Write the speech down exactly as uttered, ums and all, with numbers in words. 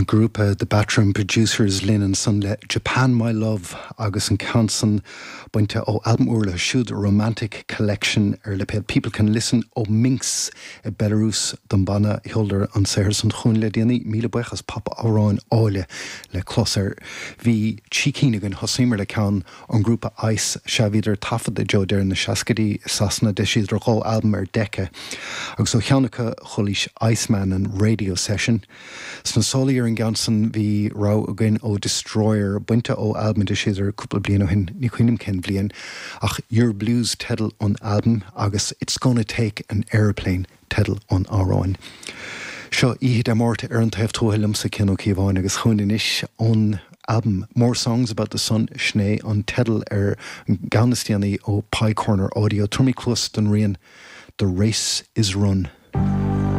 Grúpa The Batroom Producers linn ansan le Japan My Love agus an ceann san bainte ó albam úr leo siúd Romantic Collection ar lipéad People Can Listen ó Minsk i Belarus don banna sheoladar an saothar san chugainn le déanaí míle buíochas pop-amhráin áille le clos air. Bhí trí cinn againn thosaíomar le ceann an grúpa Ice sea bhíodar taifead i dtreo deireadh na seascaidí i Sasana d'eisíodar dhá albam ar Decca agus ó cheann acu chualaís Iceman an Radio Session. Sna sálaí ar an gceann san bhí rogha againn ó Destroyer bainte ó albam a d'eisíodar cúpla bliain ó shin ní cuimhin liom cén bhliain ach Your Blues teideal an albam agus It's Gonna Take an Aeroplane teideal an amhráin. Seo oíche Dé Máirt ar an taobh tuaithe liomsa Cian Ó Cíobháin agus chugainn anois ón album More Songs About the Sun sin é an teideal ar an gceann is déanaí ó Pie Corner Audio Tabharfaidh mé cluas don rian The Race is Run.